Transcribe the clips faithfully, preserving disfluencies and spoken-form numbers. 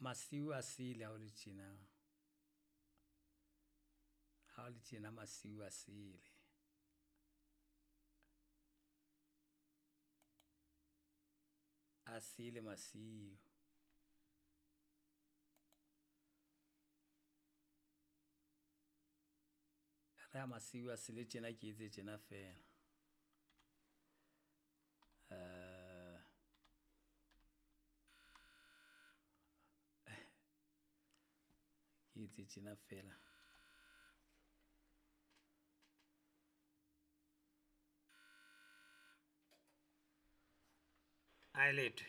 Masiu a sele ha o le tjena. Ha o le tjena masiu a sele. A sele masiu. Re ha masiu a sele tjena ke etse tjena fela. Uh, ke etse tjena fela. A letwe.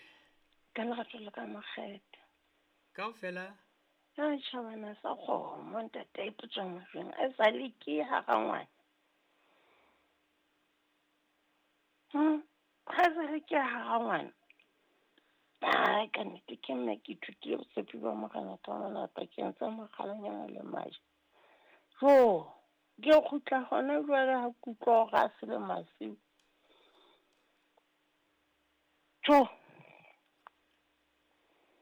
Ka lerato la ka makgethe. Kaofela A tjhabana sa kgomo ntate e putswa majweng a sa le ke hara ngwana. Hmm, ha sa le ke hara ngwana. Ai ka nnete ke mme ke ithutile botshepi ba Morena ka mona pakeng tsa mokgalanyana le majwe. Jo, ke kgutla hona jwale ha ke utlwa hore a sele masiu. Jo.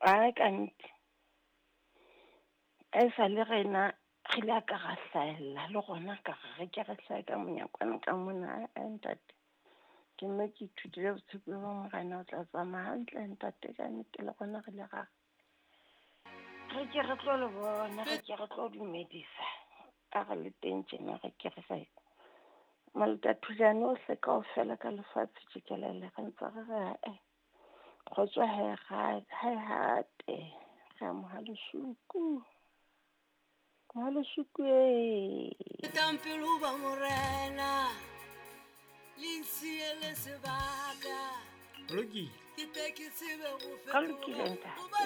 Ai ka nnete. E sa le rena re ile ka ra hlahella le rona ka re re ke re hlahe ka monyakwana ka mona a ntate. Ke mme ke ithutile botshepi ba Morena o tla tsamaya hantle ntate ka nnete le rona re ile ra re ke re tlo le bona, re ke re tlo dumedisa. A re le teng tjena re ke re re Malatathulane ohle kaofela ka lefatshe tjikelele re ntse re re ae. Kgotso ha e ha e hate re amoha lesuku. Mohalesuku e. Fetang pele ho ba morena, le nsiele sebaka. Lokile. Ke tle ke tsebe ho Ka lokile ntate. Hobane